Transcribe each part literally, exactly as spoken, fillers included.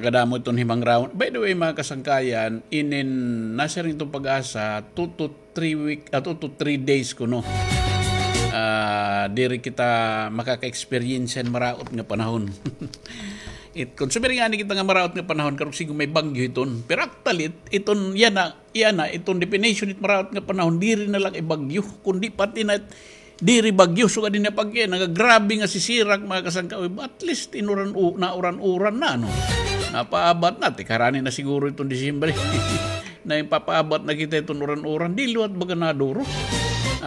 Kadamo iton himangraon. By the way, mga kasangkayan, inin nasiring iton PAGASA, two to three week, ah, two to three days kuno. Ah, diri kita makaka-experience hin maraot nga panahon. It, kon sumiri ngani kita nga maraot nga panahon, karuyag siguro may bagyo iton. Pero actually, it-, iton, yana, yana, iton definition it maraot nga panahon, diri na la kay bagyo, kundi pati na it, diri bagyo, sugad ini pag-, eh, nagagrabe nga sisirak, mga kasangkayan. At least, inuran, u-, nauran-uran na, no? Napaabat na, ti karani na siguro iton Disyembre. Na ipapaabat na kita iton uran-uran, di liwat baga naduro.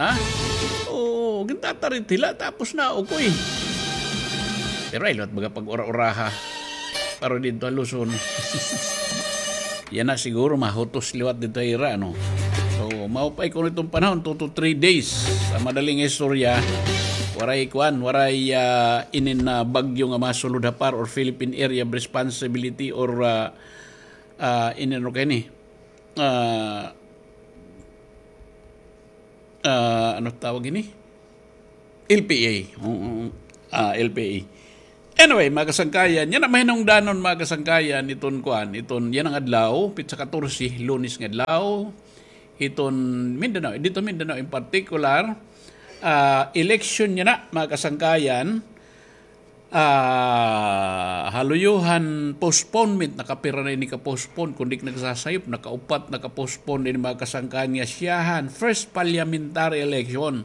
Ha? Oo, gintatarit hila, tapos naukoy. Pero ay liwat baga pag-ura-uraha. Pero didto ha Luzon. Yana siguro mahutos liwat didto ha ira, no? So, maupay kuno iton panahon, two to three days. Sa madaling istorya, waray kuan, waray, ah, inin, ah, bagyo nga masulod ha PAR or Philippine Area of Responsibility or, ah, ah, inin, ano kay ni? Ah, ah, ano tawag ini? L P A. Oo, ah, L P A. Anyway, mga kasangkayan, yana mahinungdanon, mga kasangkayan, iton kuan, iton yana nga adlaw, pitsa katorse, Lunes nga adlaw, iton Mindanao, didto Mindanao in particular, ah, election yana, mga kasangkayan, ah, ha luyo han postponement, nakapira na ini ka-postpone, kon di ak nagsasayop, nakaupat na ka-postpone ini, mga kasangkayan, nga siyahan, first parliamentary election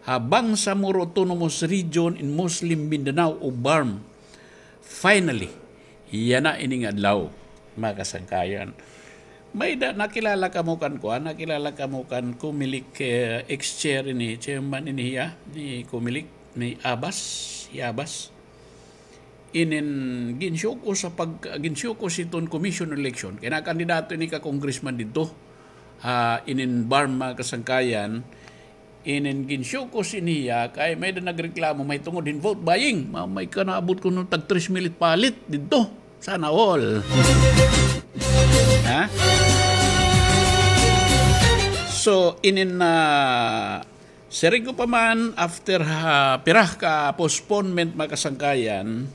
ha Bangsamoro Autonomous Region in Muslim Mindanao o BARMM. Finally, yana ini nga adlaw, mga kasangkayan. May-ada, nakilala kamo kan kuan, nakilala kamo kan Comelec, eh, ex-chair ini, chairman ini hiya, ni Comelec, ni Abas, hi Abas. Inin ginsuko sa pag-, ginsuko sa iton commission election. Kay nakandidato ini ka congressman didto. Ha, inin BARMM, mga kasangkayan, inin ginsuko ini hiya, kay may-ada nagreklamo, mahitungod hin vote buying. Ma-, may kanaabot kuno tag tres mil it palit didto. Sana all. Ha? So, inin, ah, siring ko pa man, after ha, pira ka postponement, mga kasangkayan,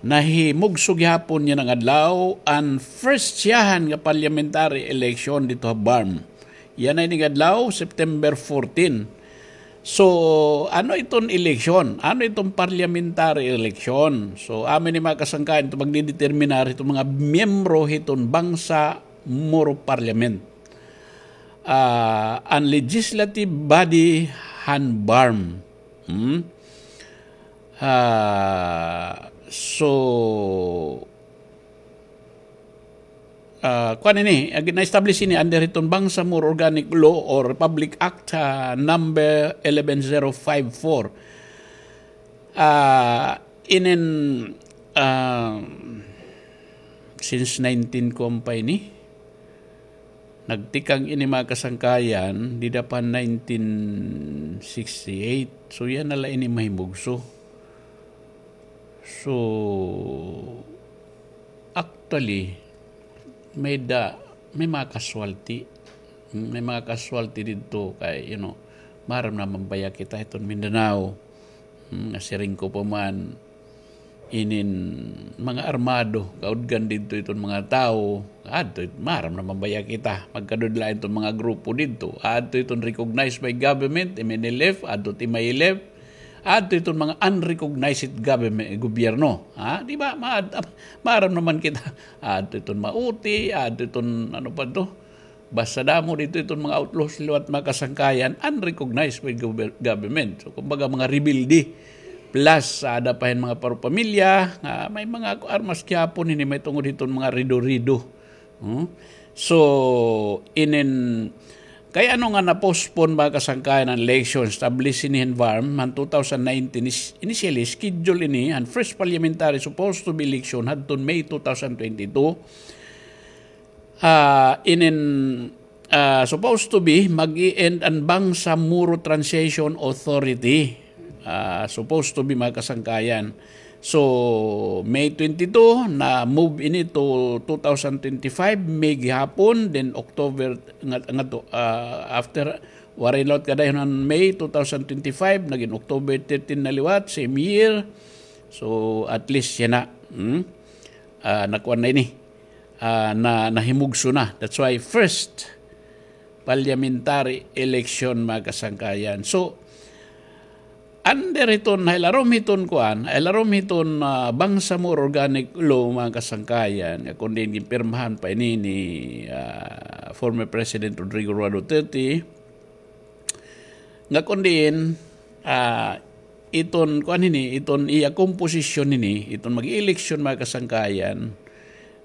nahimugso gihapon yana nga adlaw an first siyahan nga parliamentary election didto ha BARMM. Yana ini nga adlaw, September fourteen. So, ano iton eleksyon? Ano iton parliamentary election? So, amo ini, mga kasangkayan, iton magdideterminar hiton mga miyembro hiton Bangsamoro Parliament. Ah, an legislative body han BARMM. Hmm? Ah, so, ah, kuan ini, ag-, na-establish ini under hiton Bangsamoro Organic Law or Republic Act, ah, number eleven zero five four. Ah, inin, ah, since nineteen kuan pa ini, nagtikang ini, mga kasangkayan, dida pa nineteen sixty-eight. So, yana la ini mahimugso. So, actually, may-ada, may mga casualty. Hmm, may mga casualty didto kay, you know, maaram naman baya kita hiton Mindanao. Hmm, nga siring ko pa man, inin mga armado, kaudgan didto iton mga tawo, adto it-, maaram naman baya kita, magkadudlain iton mga grupo didto, adto iton recognized by government, M N L F, adto it M I L F, adto iton mga unrecognized government, gobyerno, ha? Di ba? Ma-, maaram naman kita, adto iton mauti, adto iton, ano pa to, basta damo didto iton mga outlaws liwat, mga kasangkayan, unrecognized by gover-, government. So, kumbaga, mga rebelde. Plus, aada pa hin mga parupamilya, nga may mga armas gihapon, hini mahitungod hiton mga rido-rido. Hmm? So, inin, kay ano nga na-postpone, mga kasangkayan, an election, establish ini hin BARMM, han two thousand nineteen, is-, initially, schedule ini, an first parliamentary supposed to be election, hadton May two thousand twenty-two. Ah, inin, ah, supposed to be, mag-i-end an Bangsamoro Transition Authority. Ah, supposed to be, mga kasangkayan. So, May twenty-two, na-move ini to two thousand twenty-five, May gihapon, then October, nga, nga to, ah, after, waray liwat kadayhon han May two thousand twenty-five, nagin October thirteen na liwat, same year. So, at least yana. Hmm? ah, nakuan na ini. Ah, na, nahimugso na. That's why first parliamentary election, mga kasangkayan. So, under hiton, ha ilarom hiton kuan, ha ilarom hiton, ah, Bangsamoro Organic Law, mga kasangkayan, nga kon diin ginpirmahan pa ini ni, ah, former President Rodrigo Roa Duterte, nga kon diin, ah, iton, kuan hini, iton iya komposisyon hini, iton mag-eleksyon, mga kasangkayan,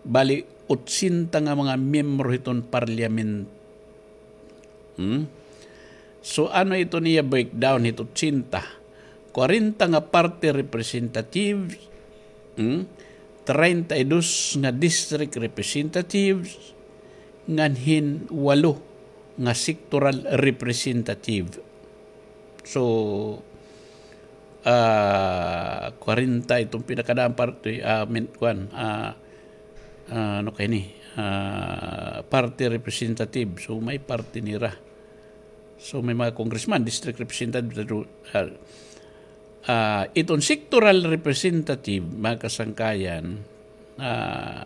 bali, otsenta nga mga miyembro hiton parliament. Hmm? So, ano iton iya breakdown hit otsenta? Kwarenta nga party representatives, hmm? Treinta y dos nga district representatives, ngan hin walo nga sectoral representative. So, ah, kwarenta iton pinakadaan party, ah, min-, kuan, ah, ah, ano kay ni? Ah, party representative. So, may party nira. So, may mga congressman, district representative, ah, ah, iton sectoral representative, mga kasangkayan, ah,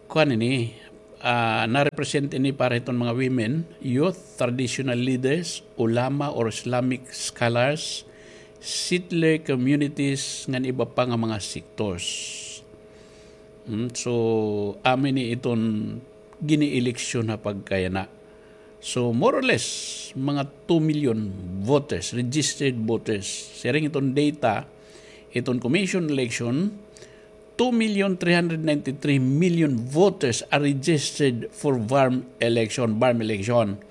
kuan ini, ah, na-represent ini para hiton mga women, youth, traditional leaders, ulama or Islamic scholars, settler communities, ngan iba pa nga mga sectors. Hmm, so, amo ini iton gini-eleksyon ha pagkayana. So, more or less, mga two million voters, registered voters. Siring iton data, iton commission election, two million three hundred ninety-three million voters are registered for varm election, varm election.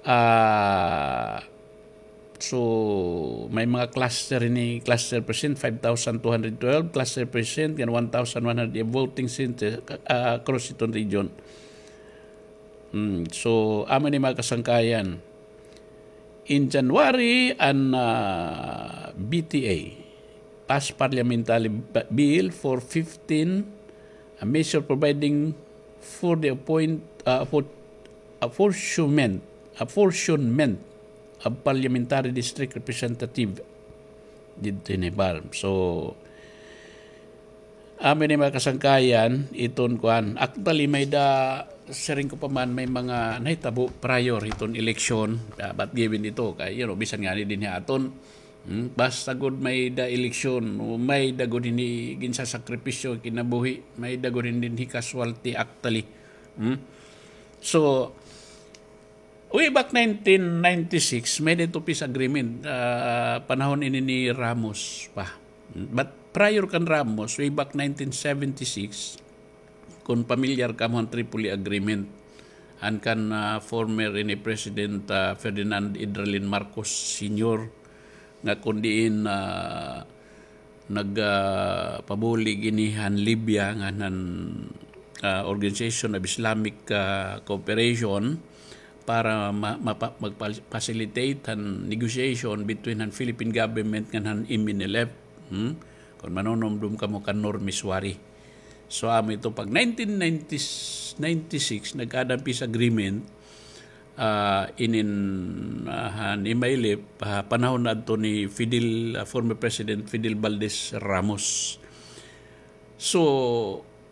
Ah, so, may mga cluster ini, cluster percent, five thousand two hundred twelve, cluster percent, ngan one thousand one hundred voting center, ah, across iton region. Hmm, so, amo ni mga kasangkayan. In January, an, ah, B T A passed parliamentary ba-, bill for fifteen, a measure providing for the appoint, ah, for apportionment, apportionment of parliamentary district representative didto hini varm. So, amo ni mga kasangkayan, iton kuan. Actually, may da, siring ko pa man, may mga nahitabo prior hiton eleksyon. Ah, but given ito, kay, you know, bisan ngani dinhi aton, hmm, basta gud may da eleksyon, o may da gud hini ginsasakripisyo kinabuhi, may da gud hini dinhi casualty actually. Hmm? So, way back nineteen ninety-six, may da ito peace agreement, ah, panahon ini ni Ramos pa. But prior kan Ramos, way back nineteen seventy-six, kon pamilyar kamo han Tripoli Agreement, han kan, ah, former ini President, ah, Ferdinand Idralin Marcos Senior, nga kon diin, ah, nag, ah, pabulig ini han Libya ngan han, ah, Organization of Islamic, ah, Cooperation para ma-, mapa-, magpa-, facilitate han negotiation between han Philippine government ngan han M N L F. Hmm? Kon manunumdom kamo kan Nur Misuari. So, amo ito pag nineteen ninety, ninety-six, nagkaada an peace agreement, ah, inin, ah, han M I L F, ah, panahon na adto ni Fidel, ah, former President Fidel Valdez Ramos. So,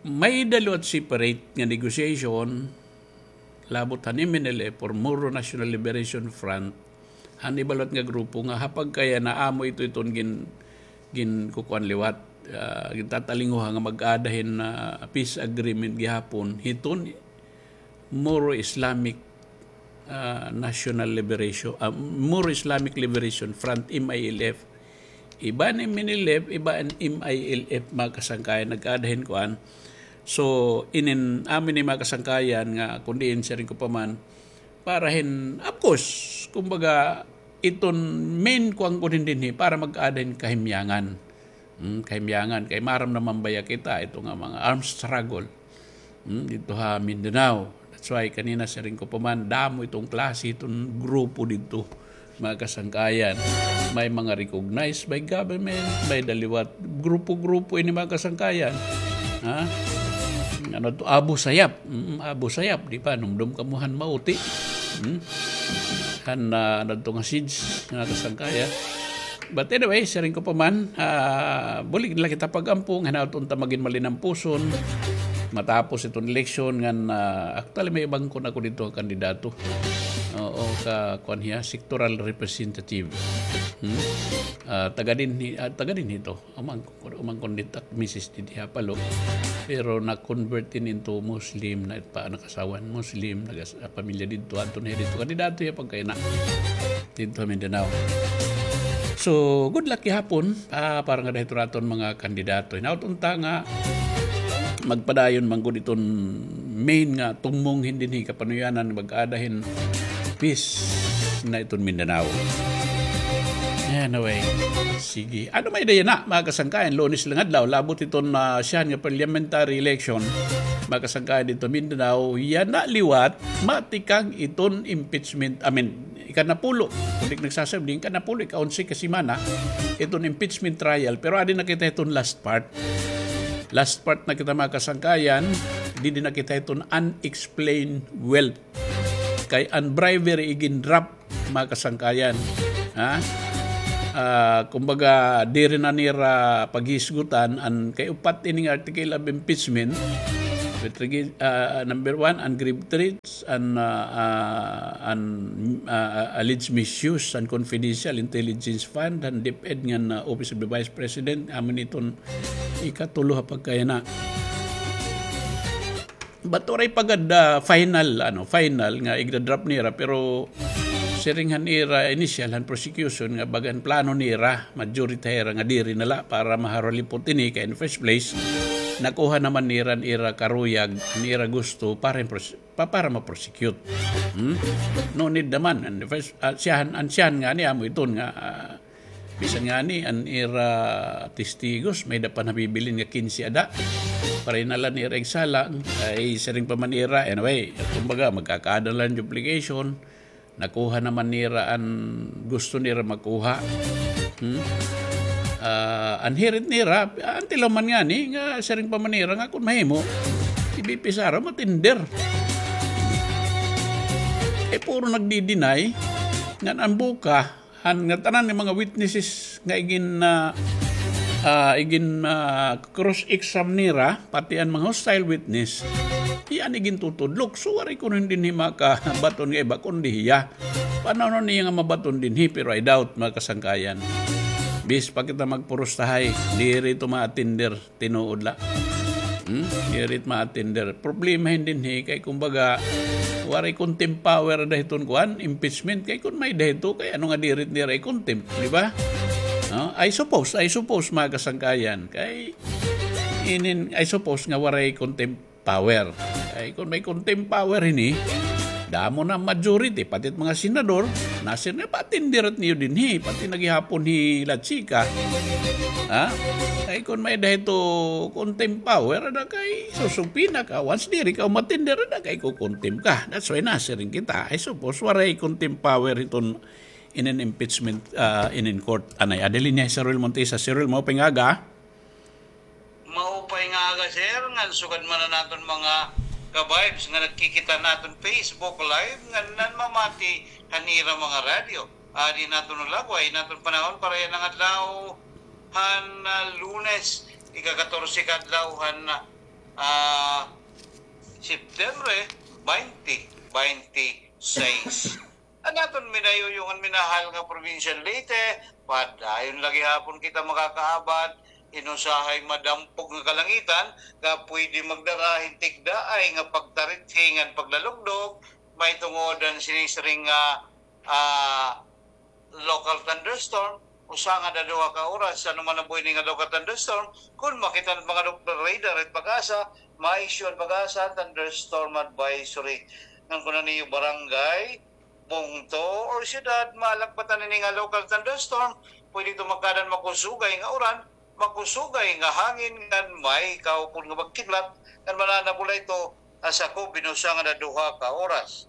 may da liwat separate nga negotiation, labot han M N L F or Moro National Liberation Front, han iba liwat nga grupo nga ha pagkayana amo ito iton gin-, ginkukuan liwat, ah, gintatalinguha nga mag-aada hin, ah, peace agreement gihapon hiton Moro Islamic, ah, National Liberation, ah, Moro Islamic Liberation Front, M I L F. Iba an M N L F, iba an M I L F, mga kasangkayan, nagkaada hin kuan. So, inin, amo ini mga kasangkayan nga, kon diin, siring ko pa man, para hin, of course, kumbaga, iton main kuan ko din dinhi, para mag-aada hin kahimyangan. Hmm, kahimyangan, kay maaram naman baya kita, ito nga mga armed struggle. Hmm, didto ha Mindanao. That's why kanina siring ko pa man, damo iton klase, iton grupo didto, mga kasangkayan. May mga recognized by government, may da liwat grupo-grupo ini, mga kasangkayan. Ha? Ano to? Abu Sayyaf. Mm, Abu Sayyaf, di ba? Numdom kamo han mauti. Hmm? Han, ah, ano to nga siege, mga kasangkayan. But anyway, siring ko pa man, ah, bulig na la kita pag-ampo, nga hinaot unta magin malinampuson, matapos iton eleksyon, ngan, ah, actually, may iba kon ako didto nga kandidato. Oo, ka, kuan hiya, sectoral representative. Hmm? Ah, taga dinhi, ah, taga dinhi ito. Umangkon, umangkon didto ak misis didi ha Palo. Pero na-convert ini into Muslim, na pa, nakasawa hin Muslim, nagas-, ah, pamilya didto, adto na hiya didto. Kandidato hiya pagkaina didto ha Mindanao. So, good luck gihapon, ah, para ngada hiton aton mga kandidato. Hinaot unta nga magpadayon man gud iton main nga tumong hin dinhi kapanuyanan, mag-aada hin peace na iton Mindanao. Anyway, sige. Ano may-ada yana, mga kasangkayan, Lunes la nga adlaw, labot iton, ah, siyahan nga parliamentary election, mga kasangkayan, didto Mindanao, yana liwat, matikang iton impeachment, I mean, ikanapulo, kon di ak nagsasabli, ikanapulo, ika-onse ka semana, iton impeachment trial, pero adi na kita hiton last part. Last part na kita, mga kasangkayan, didi na kita hiton unexplained wealth. Kay an bribery igin-drop, mga kasangkayan. Ha? Ah, kumbaga, diri na nira paghisgutan an kay upat ini nga article of impeachment. With regi-, ah, number one, an grave threats, an, ah, ah, an, ah, alleged misuse an confidential intelligence fund, an DepEd ngan, ah, Office of the Vice President, amo ini iton ikatulo ha pagkayana. But waray pa gad, ah, final, ano, final nga igda-drop nira, pero siring han ira initial han prosecution nga bagan plano nira, majority hira nga diri na la para maharulipot ini kay in first place, nakuha naman nira an ira karuyag, an ira gusto para in pros-, pa-, para ma-prosecute. Hmm? No need naman. An first, ah, siyahan, an siyahan ngani amo iton nga, ah, bisan ngani an ira testigos, may-ada pa nabibilin nga kinse ada. Para in-ala nira igsala, ay siring pa man ira. Anyway, kumbaga, magkakaada la hin duplication. Nakuha naman nira an gusto nira makuha. Hmm? Ah, an hirit nira, an tilaw man ngani, nga siring pa man nira, nga kon mahimo, si VP Sara, ma-tender. Eh, puro nagdi-deny, ngan an buka, han ngatanan nga mga witnesses nga igin, ah, ah, igin, ah, cross-exam nira, pati an mga hostile witness, iya an igintutudlok. So, waray kuno dinhi makabaton nga iba kundi hiya. Paano niya nga mabaton dinhi, pero I doubt, mga kasangkayan. Bis pa kita magpurustahay, diri ito ma-attender. Tinuod la. Hmm? Diri it ma-attender. Problema hin dinhi kay kumbaga, waray contempt power ada hiton kuan, impeachment. Kay kon may-ada hito, kay ano nga diri it nira i-contempt, di ba? No? I suppose, I suppose, mga kasangkayan. Kay inin, I suppose nga waray contempt power. Kay kon may contempt power hini, damo na majority, pati it mga senador, nasir nga pa-attender niyo dinhi, pati na gihapon hi La Chica. Ha? Kay kon may-ada hito contempt power, ada kay susubpina ka. Once diri ka ma-attender, ada kay ko-contempt ka. That's why nasiring kita. I suppose, waray contempt power hiton inin impeachment, ah, inin court. Anay, Adeline, Sir Will Montesa. Sir Will, maupay nga aga. Maupay nga aga, sir, ngan sugad man an aton mga ka-vibes nga nagkikita naton Facebook Live, ngan nanmamati han ira mga radyo. Adi naton ulagway, naton panahon para yana nga adlaw han, ah, Lunes, ika-katorse ka adlaw han, ah, September, baynte baynte sais. An aton minayuyong ngan minahal nga probinsiya Leyte, padayon la gihapon kita makakaabot hin usahay madampog nga kalangitan nga pwede magdara hin tikdaay nga pagtarithi ngan paglalugdog, mahitungod han sinisiring nga, ah, local thunderstorm, usa ngada duha ka oras, ano man nabuhi ini nga local thunderstorm, kon makita han mga Doppler radar it PAGASA, ma-issue an PAGASA thunderstorm advisory. Ngan kon an iyo barangay, bungto, or syudad, malagbatan ini nga local thunderstorm, pwede ito magkaada hin makusugay nga uran, makusugay nga hangin ngan may kaupod nga pagkidlat, ngan mananabula ito ha sakob hin usa ngada duha ka oras.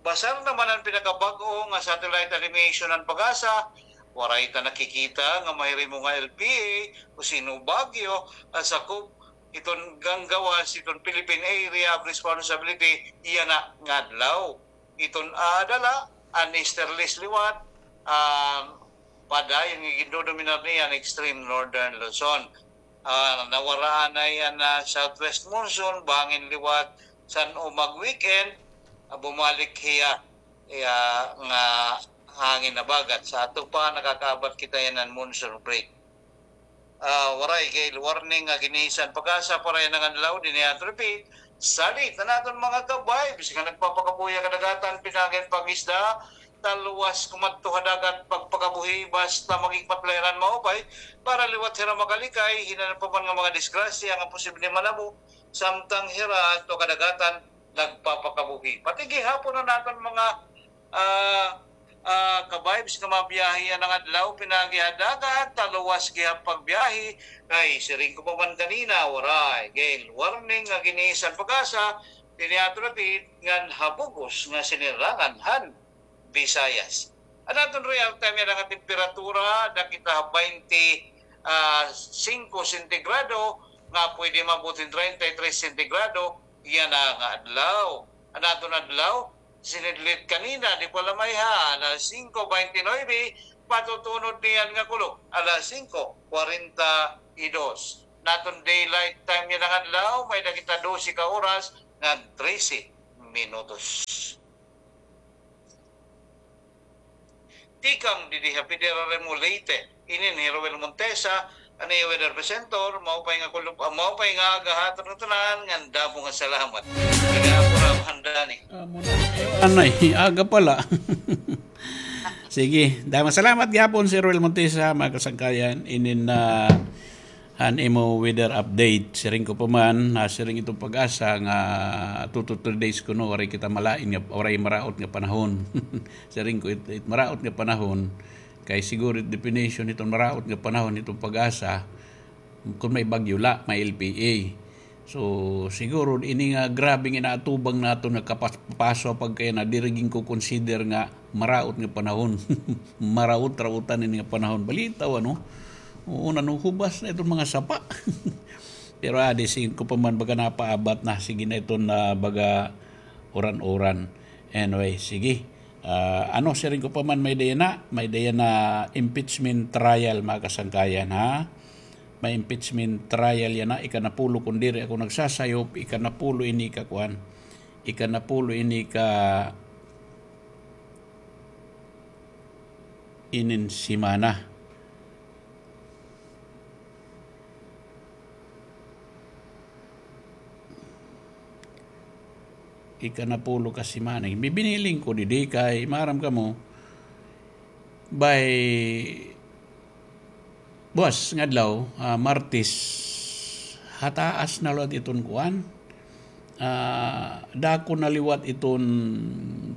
Basar naman an pinakabag-o nga satellite animation han PAGASA, waray ta nakikita nga mahirimo nga L P A o Sino Baguio ha sakob hiton ganggawas hiton Philippine Area of Responsibility yana nga adlaw. Iton aada la, an easterlies liwat, an padayon nga gindodominar niya an extreme northern Luzon. Ah, nawaraan na iya na southwest monsoon, bangin liwat san-o mag-weekend, ah, bumalik hiya, iya nga hangin habagat. Sa ato pa, nakakaabat kita yana han monsoon break. Ah, waray gale warning nga ginisan PAGASA para yana nga adlaw, dinhi aton repeat, salit an aton mga ka-vibes nga nagpapakabuhi ha kadagatan, pinaagi han pangisda, talwas kumadto ha dagat, pagpakabuhi, basta mag-igmat la hira hin maupay, para liwat hira makalikay hinan ano pa man nga mga disgrasya nga posible manabo, samtang hira adto ha kadagatan nagpapakabuhi. Pati gihapon an aton mga, ah, ah, ka-vibes nga mabiyahe yana nga adlaw, pinaagi ha dagat, talwas gihap pagbiyahe, kay siring ko pa man kanina, waray gale warning nga ginisan PAGASA, dinhi aton repeat, ngan ha bug-os nga sinirangan han Visayas. An aton real time yana nga temperatura, nakita ha baynte singko sentigrado, nga pwede maabot hin treinta y tres sentigrado yana nga adlaw. An aton adlaw, sinidlit kanina, di pa la mayha, alas singko baynte nuwebe, patutunod niyan nga kulop, alas singko kwarenta y dos. An aton daylight time yana nga adlaw, may-ada kita dose ka oras ngan trese minutos. Tikang didi ha Federal Remo Leyte, inin hi Roel Montesa, an iyo weather presenter, maupay nga kulop, ah, maupay nga aga ha aton ngatanan, ngan damo nga salamat. Kaya ako ra mahandani. Amo na. Anay, aga pala. Sige, damo salamat gihapon, Sir Roel Montesa, mga kasangkayan. Inin na han imo weather update. Siring ko pa man, nasiring iton PAGASA nga two to three days kuno, waray kita malain nga, waray maraot nga panahon. Siring ko, it, it maraot nga panahon, kay siguro it definition hiton maraot nga panahon hiton PAGASA, kun may bagyo la, may L P A. So, siguro ini nga grabe nga inaatubang naton nga kapas-, paso pagkaya na diri ginko-consider nga maraot nga panahon. Maraot-raotan ini nga panahon. Balitaw, ano? Oo, nanuhubas na iton mga sapa. Pero, ah, di, siring ko pa man baga napaabat na. Sige na iton na baga uran-uran. Anyway, sige. Ah, ano, siring ko pa man may-ada yana, may-ada yana impeachment trial, mga kasangkayan, ha? May impeachment trial yana, ikanapulo, kun diri ako nagsasayop, ikanapulo ini ka kuan. Ikanapulo ini ka inin semana. Ikanapulo ka semana. Bibiniling ko didi kay maaram kamo, by buwas nga adlaw, ah, Martes, hataas na liwat iton kuan. Ah, dako na liwat iton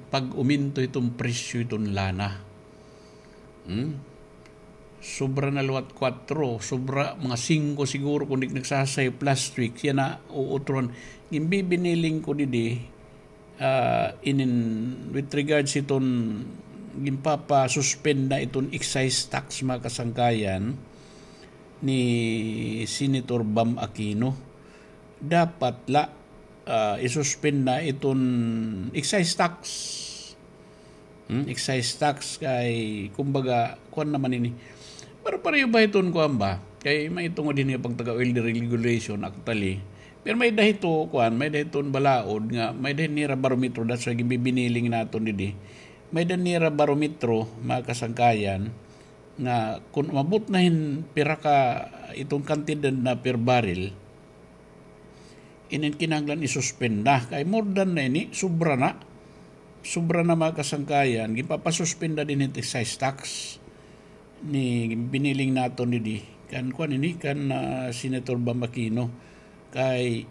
pag-uminto iton presyo iton lana. Hmm? Sobra na liwat kwatro, sobra mga singko siguro kun di nagsasayop last week. Yana, uutron. Ginbibiniling ko didi, ah, inin, with regards iton ginpapa-suspend na iton excise tax, mga kasangkayan, ni Senator Bam Aquino. Dapat la, ah, i-suspend na iton excise tax. Hmm, excise tax kay, kumbaga, kuan naman ini. Pero pareho ba iton kuan ba? Kay may tungod ini pagtaga oil deregulation, actually. Pero may-ada hito, kuan, may-ada hiton balaod nga, may-ada nira barometro, that's why ginbibiniling naton didi. May-ada nira barometro, mga kasangkayan, nga kun umabot na hin pira ka iton kantidad na per barrel, inin kinahanglan i-suspend na. Kay more than na ini, sobra na. Sobra na, mga kasangkayan. Ginpapa-suspend na dinhi it excise tax. Ni biniling naton didi. Kan kuan ini, kan, ah, Senator Bam Aquino. Kay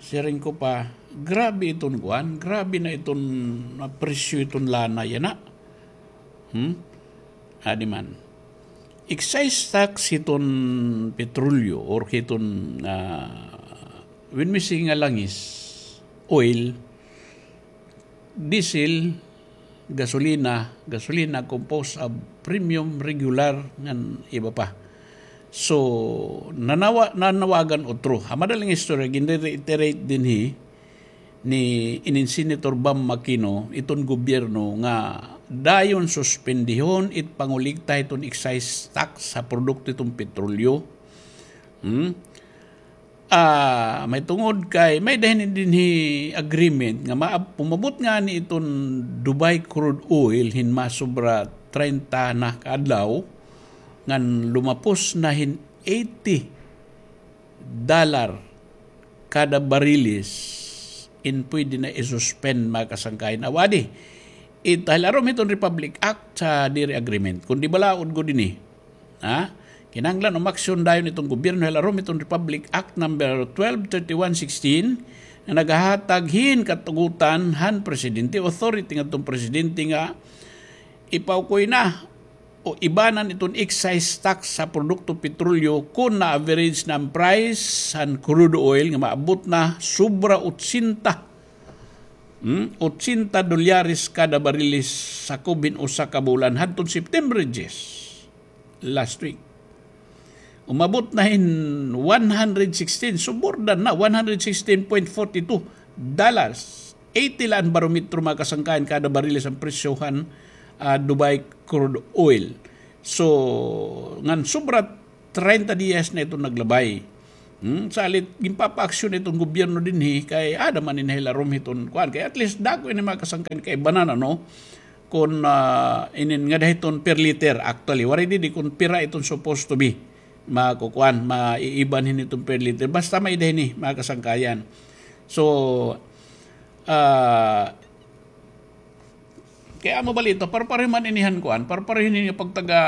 siring ko pa, grabe iton kuan, grabe na iton, ah, presyo iton lana yana. Hmm? Adi man. Excise tax hiton petrolyo or hiton, ah, when we say nga langis, oil, diesel, gasolina, gasolina composed of premium, regular, ngan iba pa. So, nanawa-, nanawagan utro. Ha madaling istorya, gin-reiterate dinhi ni inin Senator Bam Aquino, iton gobyerno nga dayon suspendihon it pangolekta hiton excise tax ha produkto hiton petrolyo. Hmm? Ah, may tungod kay may-ada hini dinhi agreement nga maab-, umabot ngani iton Dubai crude oil hin masobra treinta na ka adlaw, ngan lumapos na hin eighty dollar kada bariles in pwede na i-suspend, mga kasangkayan. Awadi, it hilarom hiton Republic Act sa diri agreement. Kundi balaod gud ini. Ha? Kinahanglan umaksyon dayon iton gobyerno hilarom hiton Republic Act number twelve thirty-one sixteen nga nagahatag hin katugutan han presidente, authority ngadton presidente nga ipaukoy na o ibanan iton excise tax sa produkto petrolyo kon na-average na an price han crude oil nga maabot na sobra otsenta, hmm, otsenta dolyares kada bariles sakob hin usa ka bulan hadton September diyes, last week. Umabot na hin one hundred sixteen, subordan na, one hundred sixteen point forty two dollars. Eighty la an barometro, mga kasangkayan, kada bariles an presyo han, ah, Dubai crude oil. So, ngan sobra treinta diyas na iton naglabay. Hmm, salit, ginpapaaksyon iton gobyerno dinhi, kay aada man ini hilarom hiton kuan. Kay at least dako ini, mga kasangkayan, kay banana, no? Kon, ah, inin ngada hiton per liter, actually. Waray didi kon pira iton supposed to be. Makukuan, maiiban hini iton per liter. Basta may-ada hini, mga kasangkayan. So, ah, kay amo bala ito, parpareho man ini han kuan, parpareho ini nga pagtaga,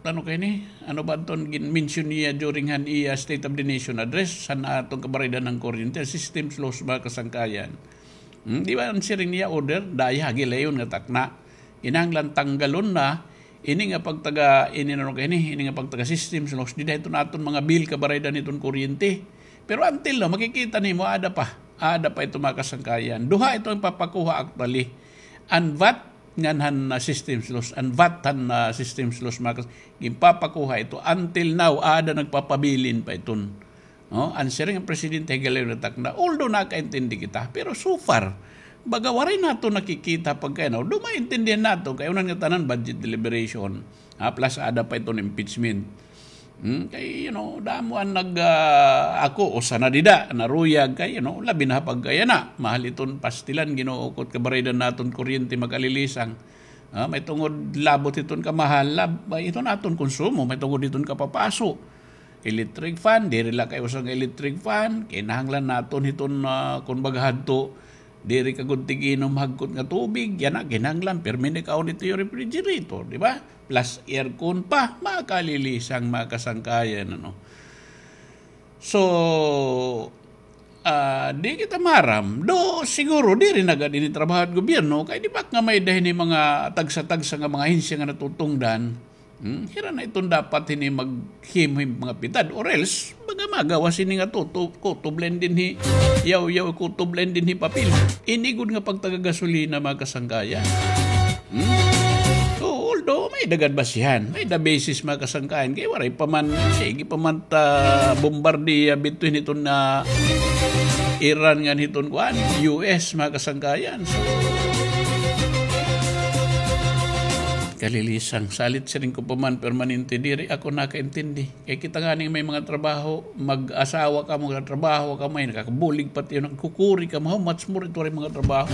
ano kay ni? Ano ba iton gin-mention niya during han iya State of the Nation address, han aton kabaraydan han kuryente, systems loss, mga kasangkayan. Hmm, di ba an siring niya order, daya ha gilayon nga takna. Kinahanglan tanggalon na, ini nga pagtaga, ini na kay ni, ini nga pagtaga systems loss, dida hiton aton mga bill kabaraydan hiton kuryente. Pero until now, makikita nimo, aada pa. Aada pa ito, mga kasangkayan. Duha ito an papakuha actually. An vat ngan han, ah, systems loss. An vat han, ah, systems loss, mga kas-, ginpapakuha ito. Until now, aada nagpapabilin pa iton. No? An siring han presidente ha gilayon nga takna. Although nakaintindi kita, pero so far, baga waray naton nakikita pagkay, no? Although maintindihan naton, kay una nga tanan budget deliberation. Ah, plus aada pa iton impeachment. Hmm, kay, you know, damo an nag, ah, ako, usa na dida, naruyag kay, you know, labi na ha pagkayana. Mahal iton pastilan, Ginoo ko, kabaraydan naton kuryente, mga kalilisang. Ah, may tungod labot iton kamahal, lab-, iton aton konsumo, may tungod iton kapapaso. Electric fan, diri la kay usa nga electric fan, kinahanglan naton hiton, ah, kon baga hadto, diri ka gud tig-inom hagkot nga tubig, yana, kinahanglan, pirmi na ikaon dito yung refrigerator, di ba? Plus aircon pa, mga kalilisang, mga kasangkayan, ano. So, ah, di kita maram. Do, siguro, diri na gad ini trabaho han gobyerno, kay di ba nga may-ada hini mga tagsa-tagsa nga mga ahensya nga natutungdan, hmm? Hira na iton dapat hini maghimo hin mga pitad, or else, baga magawas hini nga tuto-, kutob la ini dinhi, yaw-yaw kutob la ini dinhi papel. Ini gud nga pagtagagasolina, mga kasangkayan. Hmm? So, although may-ada gad basihan, may-ada basis, mga kasangkayan, kay waray pa man, sige pa man ta bombardiya between iton nga Iran ngan hiton kuan, U S, mga kasangkayan. So, kalilisang, salit siring ko pa man permanente diri ako nakaintindi. Kay kita ngani may mga trabaho, mag-asawa ka, magtrabaho ka, may nakakabulig pati, nagkukuri ka, how much more ito rin mga trabaho.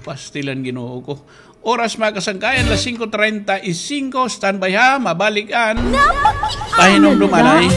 Pastilan, Ginoo ko. Oras, mga kasangkayan, las singko treinta y cinco, standby ha, mabalik an pahinumdom anay.